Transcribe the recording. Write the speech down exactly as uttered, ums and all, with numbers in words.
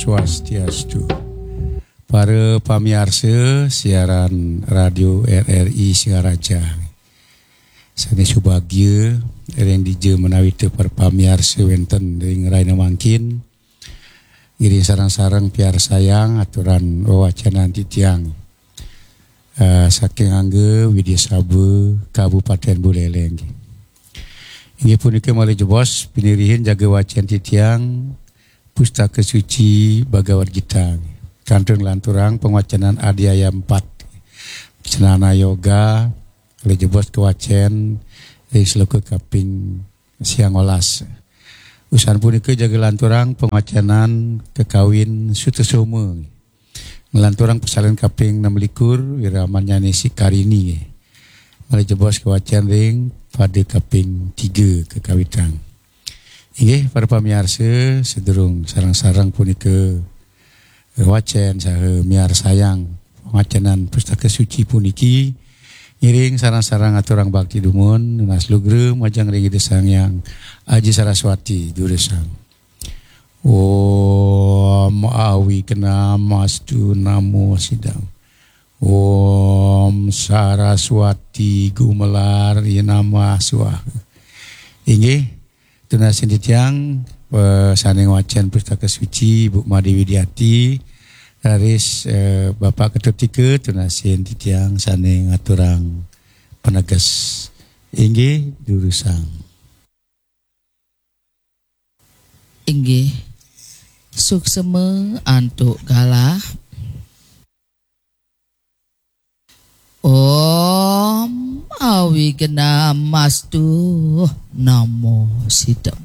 Swastiastu. Para pamiarsa siaran Radio R R I Singaraja. Sané subagia ring dija menawi té para pamiarsa wénten ring rahina mangkin. Ngiring sareng-sareng piarsayang aturan wewacenan titiang. Eh, saking Angga Widya Sabha, Kabupaten Buleleng. Inggih punika malih jebos pinirihin jaga wacén titiang Pustaka Suci Bhagavad Gita. Kantun lanturang pangwacenan Adhyaya empat. Cendana Yoga, malih jebos kawacén ring sloka kaping siangolas. Usan punika jaga lanturang pangwacenan kakawin Sutasoma. Nglanturang pasalin kaping enam likur, Wiramanyane Sikarini. Malih jebos kawacén ring pada kaping tiga kakawitang. Inggih, para pamiarsa, sadurung sareng-sareng punika wacén saha miarsayang pangwacenan Pustaka Suci puniki, ngiring sareng-sareng aturang bakti dumun, nunas lugra majeng ring Ida Sang Hyang Aji Saraswati durusang. Om Awignamastu Namo Sidam. Om Saraswati Gumelar Yenamah Swaha. Inggih, tunasin titiang, eh, sané ngwacén Pustaka Suci, Bu Made Widiati, raris, eh, Bapak Ketut Tika, tunasin titiang sané ngaturang paneges. Inggih, durusang. Inggih, suksma antuk galah. Om Awignamastu Namo Sidam.